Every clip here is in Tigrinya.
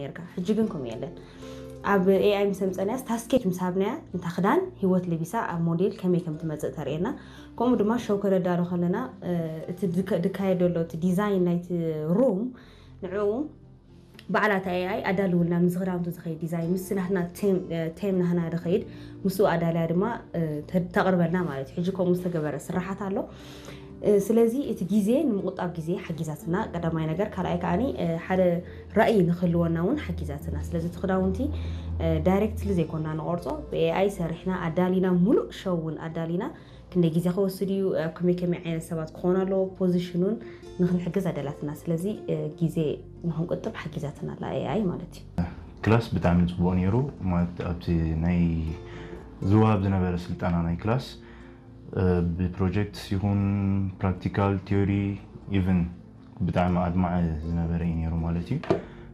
ኔርካ። ሕጂ ግን ከምኡ የለን። ኣብ ኤኣይ ምስ ኣምፀናያስ ታስኬት ምስ ሃብናያ፣ እንታ ክዳን ህይወት ለቢሳ ኣብ ሞዴል ከመይ ከም ትመፅእ ተርእየና። ከምኡ ድማ ሸው ከነዳሉ ከለና እቲ ድካየድ ዘሎ እቲ ዲዛይን ናይቲ ሩም ንዕኡ ባዕላታ ኤኣይ ኣዳልውልና፣ ምስ ክዳውንቲ ዝኸይድ ዲዛይን፣ ምስ ናትና ቴም ናህና ዝኸይድ ምስኡ ኣዳልያ ድማ ተቕርበልና ማለት እዩ። ሕጂ ከምኡ ዝተገበረ ስራሓት ኣሎ። ስለዚ እቲ ግዜ ንምቑጣብ ግዜ ሓጊዛትና፣ ቀዳማይ ነገር። ካልኣይ ከዓኒ ሓደ ራእይ ንክህልወና እውን ሓጊዛትና። ስለዚ እቲ ክዳውንቲ ዳይሬክትሊ ዘይኮና ንቆርጾ፣ ብኤኣይ ሰሪሕና ኣዳሊና፣ ሙሉእ ሸው እውን ኣዳሊና፣ ክንደይ ግዜ ክወስድ እዩ፣ ኣብ ከመይ ከመይ ዓይነት ሰባት ክኾኑ ኣለዎ፣ ፖዚሽኑን ንክንሕግዝ ኣደላትና። ስለዚ ግዜ ንክንቁጥብ ሓጊዛትና ኣላ ኤኣይ ማለት እዩ። ክላስ ብጣዕሚ ፅቡቅ ነይሩ። ማለት ኣብቲ ናይ ዝወሃብ ዝነበረ ስልጠና ናይ ክላስ ብፕሮጀክት ይኹን ፕራክቲካል ቲዮሪ ኢቭን ብጣዕሚ ኣድማዒ ዝነበረ እዩ ነይሩ ማለት እዩ።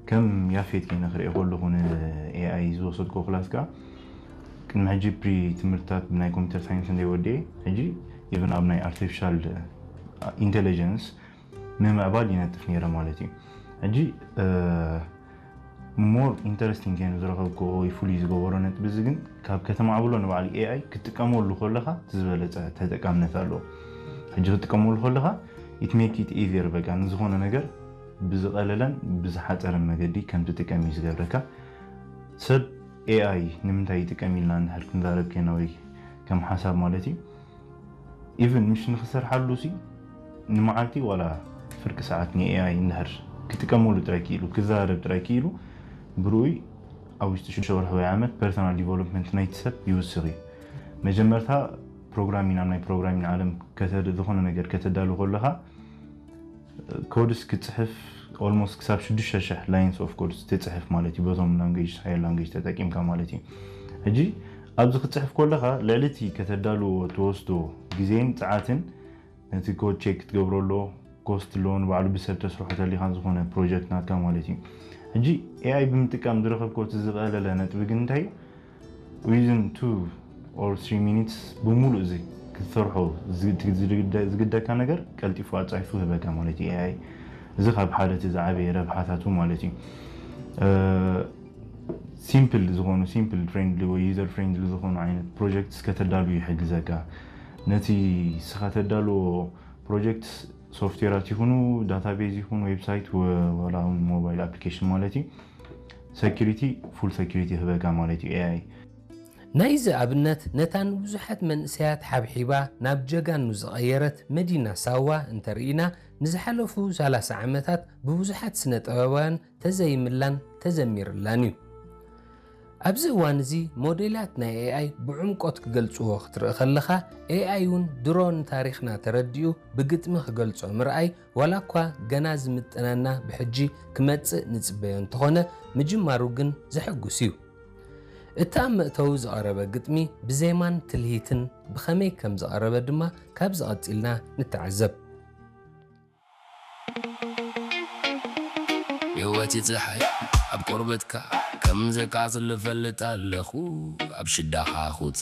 ከም ያፌት ከይነ ክሪኦ ከለኹ ንኤኣይ ዝወሰድኮ ክላስ ከዓ ቅድሚ ሕጂ ፕሪ ትምህርትታት ብናይ ኮምፒተር ሳይንስ እንደ ወዲኤ ሕጂ ኢቭን ኣብ ናይ ኣርቲፊሻል ኢንቴሊጀንስ ንምዕባል ይነጥፍ ነይረ ማለት እዩ። ሕጂ more interesting ከይኑ ዝረኸብኩ ወይ ፍሉይ ዝገበሮ ነጥቢ እዚ ግን ካብ ከተማዕብሎ ንባዕሉ ኤኣይ ክትጥቀመሉ ከለኻ ዝበለፀ ተጠቃምነት ኣለዎ። ሕጂ ክትጥቀመሉ ከለኻ it make it easier በቃ ንዝኾነ ነገር ብዝቐለለን ብዝሓፀረን መገዲ ከም ትጥቀም እዩ ዝገብረካ። ሰብ ኤኣይ ንምንታይ ይጥቀም ኢልና እንድሕር ክንዛረብ ከይና ወይ ከም ሓሳብ ማለት እዩ ኢቭን ምሽ ንክሰርሓሉ ሲ ንመዓልቲ ዋላ ፍርቂ ሰዓት ንኤኣይ እንድሕር ክጥቀመሉ ጥራይ ክኢሉ ክዘራረብ ጥራይ ክኢሉ ብርኡይ ኣብ ውሽጢ ሽዱሽተ ወርሒ ወይ ዓመት ፐርሰናል ዲቨሎፕመንት ናይቲ ሰብ ይውስኽ እዩ። መጀመርታ ፕሮግራሚን ኣብ ናይ ፕሮግራሚን ዓለም ዝኾነ ነገር ከተዳሉ ከለኻ ኮድስ ክፅሕፍ almost ክሳብ ሽዱሽተ ሽሕ lines of codes ትፅሕፍ ማለት እዩ በቶም language higher language ተጠቂምካ ማለት እዩ። ሕጂ ኣብዚ ክትፅሕፍ ከለኻ ልዕሊ እቲ ከተዳልዎ ትወስዶ ግዜን ፀዓትን ነቲ ኮድ ቼክ ክትገብሮ ኣሎ ኮስት ኣሎ ንባዕሉ ብሰብ ተስርሖ ተሊኻን ዝኾነ ፕሮጀክት ናትካ ማለት እዩ። ሕጂ ኤኣይ ብምጥቃም ዝረኸብኮ እቲ ዝቐለለ ነጥቢ ግን እንታይ within two or three minutes ብምሉእ እዚ ክትሰርሖ ዝግደካ ነገር ቀልጢፉ ኣፃይፉ ህበካ ማለት እዩ ኤኣይ። እዚ ካብ ሓደ እቲ ዝዓበየ ረብሓታቱ ማለት እዩ። ሲምፕል ዝኾኑ ሲምፕል ፍሬንድሊ ወይ ዩዘር ፍሬንድሊ ዝኾኑ ዓይነት ፕሮጀክትስ ከተዳሉ ይሕግዘካ። ነቲ ስኻ ተዳልዎ ፕሮጀክት ሶፍትዌራት ይኹኑ ዳታቤዝ ይኹን ዌብሳይት ወላ እውን ሞባይል ኣፕሊኬሽን ማለት እዩ ሰኪሪቲ ፉል ሰኪሪቲ ይህበካ ማለት እዩ ኤኣይ። ናይዚ ኣብነት ነታ ንብዙሓት መንእሰያት ሓብሒባ ናብ ጀጋኑ ዝቐየረት መዲና ሳዋ እንተርኢና፣ ንዝሓለፉ ሰላሳ ዓመታት ብብዙሓት ስነ ጥበባውያን ተዘይምላን ተዘሚርላን እዩ። ኣብዚ እዋን እዚ ሞዴላት ናይ ኤኣይ ብዕምቆት ክገልጽዎ ክትርኢ ከለኻ፣ ኤኣይ እውን ድሮ ንታሪኽና ተረዲኡ ብግጥሚ ክገልጾ ምርኣይ ዋላ እኳ ገና ዝምጥነና ብሕጂ ክመጽእ ንጽበዮ እንተኾነ፣ ምጅማሩ ግን ዘሐጉስ እዩ። እቲ ኣብ መእተዊ ዝቐረበ ግጥሚ ብዜማን ትልሂትን ብኸመይ ከም ዝቐረበ ድማ ካብዚ ቀጺልና ንተዓዘብ። ህይወት ይፀሓይ ኣብ ቆርበትካ ከም ዘቃፅል እፈልጥ ኣለኹ ኣብ ሽዳኻ ኹፃ